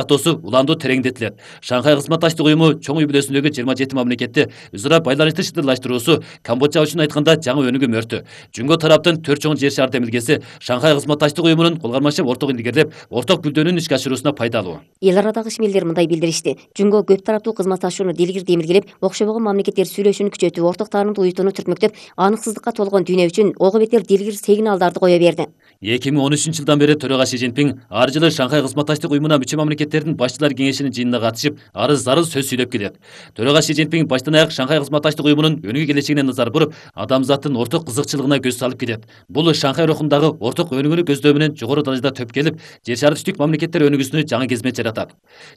катоосу уланду тереңдетилет. Шанхай кызматташтык уюму чоң үй бүлөсүндөгү 27 мамлекетти өзара байланышты чыдырлаштыруусу Камбоджа үчүн айтканда жаңы өнүгүү мөртү. Жүнгө тараптын 4 чоң жер шаар демилгеси Шанхай кызматташтык уюмунун кол кармашып орток илгерлеп, орток бүлдөнүн ишке ашыруусуна пайдалуу. Эл арадагы ишмерлер мындай билдиришти. Жүнгө көп тараптуу кызматташууну дилгир демилгелеп, окшобогон мамлекеттер сүйлөшүүнү күчөтүп, орток таанымдуу уюттууну түртмөктөп, аныксыздыкка толгон дүйнө үчүн ого бетер дилгир сигналдарды кое берди. 2013 жылдан бери төрага Си Цзиньпин ар жылы Шанхай кызматташтык уюмуна мүчө мамлекеттердин башчылар кеңешинин жыйынына катышып, арыз-зарыз сөз сүйлөп келет. Төрага Си Цзиньпин баштан аяк Шанхай кызматташтык уюмунун өнүгүү келечегине назар буруп, адамзаттын орток кызыкчылыгына көз салып келет. Бул Шанхай рухундагы орток өнүгүүнү көздөө менен жогору даражада төп келип, жер шары түштүк мамлекеттер өнүгүүсүнө жаңы кезмет жаратат.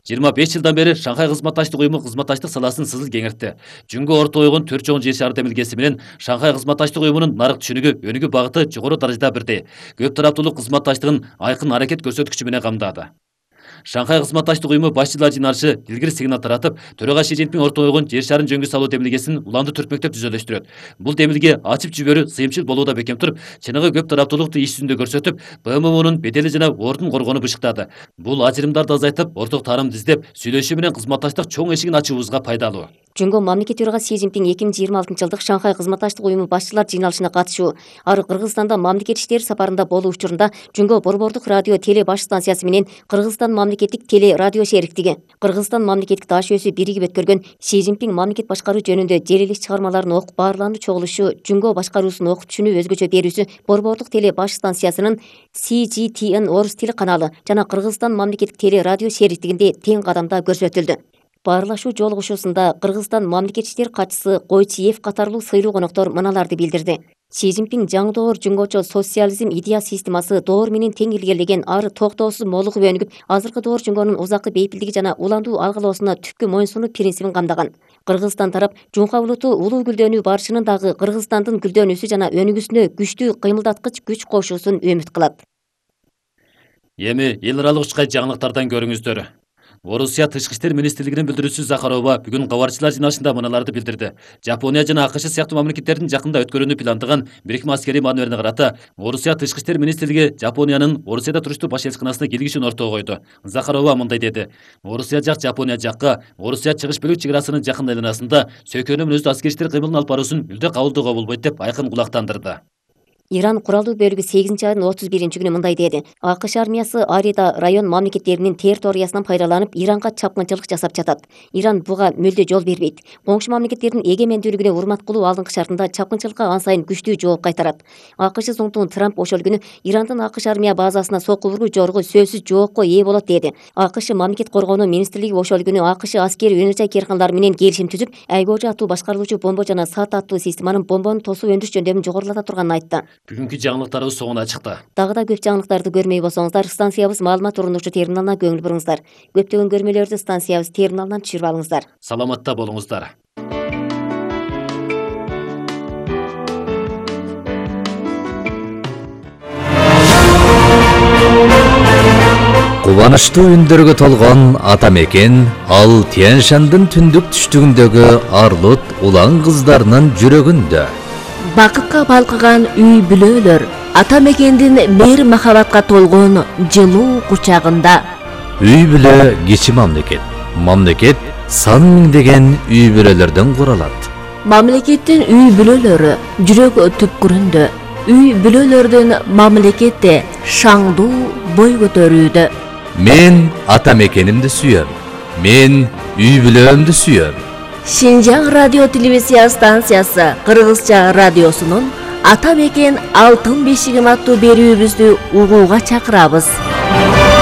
25 жылдан бери Шанхай кызматташтык уюму кызматташтык саласын сызыл кеңиртти. Жүнгө орто ойгон 4 чоң жер шары демилгеси менен Шанхай кызматташтык уюмунун нарык түшүнүгү, өнүгүү багыты жогору даражада бирдей. Көп тараптуулук кызматташтыгын айкын аракет көрсөткүчү менен камдады. Шанхай кызматташтык уюму башчылар жыйналышы дилгир сигнал таратып, төрага Си Цзиньпин орто ойгон жер шарын жөнгө салуу демилгесин уланды түртмөктөп түзөлөштүрөт. Бул демилге ачып жиберүү сыйымчыл болууда бекем туруп, чыныгы көп тараптуулукту иш жүзүндө көрсөтүп, БМУнун бедели жана ордун коргоону бышыктады. Бул ажырымдарды азайтып, орток таарымды издеп, сүйлөшүү менен кызматташтык чоң эшигин ачуубузга пайдалуу. Жүнгө мамлекет төрага Си Цзиньпин 2026 жылдык Шанхай кызматташтык уюму башчылар жыйналышына катышуу, ары Кыргызстанда мамлекет иштери сапарында болуу учурунда Жүнгө борбордук радио теле баш станциясы менен Кыргызстан мамлекеттик теле радио шериктиги, Кыргызстан мамлекеттик таш өсү биригип өткөргөн Си Цзиньпин мамлекет башкаруу жөнүндө желелик чыгармаларын окуп баарлануу чогулушу, Жүнгө башкаруусун окуп түшүнүү өзгөчө берүүсү борбордук теле баш станциясынын CGTN орус тили каналы жана Кыргызстан мамлекеттик теле радио шериктигинде тең кадамда көрсөтүлдү. Баарлашуу жолугушуусунда Кыргызстан мамлекет иштери катчысы Койчиев катарлуу сыйлуу коноктор мыналарды билдирди. Си Цзиньпин жаңы доор жүнгөчө социализм идея системасы доор менен тең илгерлеген ары токтоосуз молугуп өнүгүп, азыркы доор жүнгөнүн узакы бейпилдиги жана уландуу алгылоосуна түпкү моюнсунуу принцибин камдаган. Кыргызстан тарап Жунха улуту улуу гүлдөнүү барышынын дагы Кыргызстандын гүлдөнүүсү жана өнүгүүсүнө күчтүү кыймылдаткыч күч кошуусун үмүт кылат. Эми эл аралык учкай жаңылыктардан көрүңүздөр. Орусия Тышкы иштер министрлигинин билдирүүчүсү Захарова бүгүн кабарчылар жыйналышында мыналарды билдирди. Жапония жана АКШ сыяктуу мамлекеттердин жакында өткөрүүнү пландаган бирикме аскерий маневрине карата Орусия Тышкы иштер министрлиги Жапониянын Орусияда туруштуу баш элчиканасына келишүүнү ортого койду. Захарова мындай деди: Орусия жак Жапония жакка Орусия чыгыш бөлүк чек арасынын жакын айланасында сөйкөнү менен аскери иштер кыймылын алып баруусун мүлдө кабылдоого болбойт деп айкын кулактандырды. Иран куралдуу бөлүгү 8-айдын 31-күнү мындай деди: АКШ армиясы Арида район мамлекеттеринин территориясынан пайдаланып Иранга чапкынчылык жасап жатат. Иран буга мүлдө жол бербейт. Коңшу мамлекеттердин эгемендүүлүгүнө урмат кылуу алдыңкы шартында чапкынчылыкка ан сайын күчтүү жооп кайтарат. АКШ соңтугун Трамп ошол күнү Ирандын АКШ армия базасына сокку буруу жоругу сөзсүз жоопко ээ болот деди. АКШ мамлекет коргоонуу министрлиги ошол күнү АКШ аскери өнөр керканлары менен келишим түзүп, Айгожа аттуу башкарылуучу бомба жана САТ аттуу системанын бомбону тосуп өндүрүш жөндөмүн жогорулата турганын айтты. Бүгүнкү жаңылыктарыбыз соңуна чыкты. Дагы да көп жаңылыктарды көрмөй болсоңуздар, станциябыз маалымат урундуучу терминалына көңүл буруңуздар. Көптөгөн көрмөлөрдү станциябыз терминалынан түшүрүп алыңыздар. Саламатта болуңуздар. Кубанычтуу үндөргө толгон ата мекен ал Тянь-Шандын түндүк түштүгүндөгү Арлут улан кыздарынын жүрөгүндө. Бакытка балкыган үй бүлөлөр ата мекендин мейир махабатка толгон жылуу кучагында. Үй бүлө кичи мамлекет. Мамлекет сан миңдеген үй бүлөлөрдөн куралат. Мамлекеттин үй бүлөлөрү жүрөк түпкүрүндө. Үй бүлөлөрдүн мамлекетте шаңдуу бой көтөрүүдө. Мен ата мекенимди сүйөм. Мен үй бүлөмдү сүйөм. Шинжаң радио телевизия станциясы Кыргызча радиосунун Ата мекен алтын бешигим аттуу берүүбүздү угууга чакырабыз.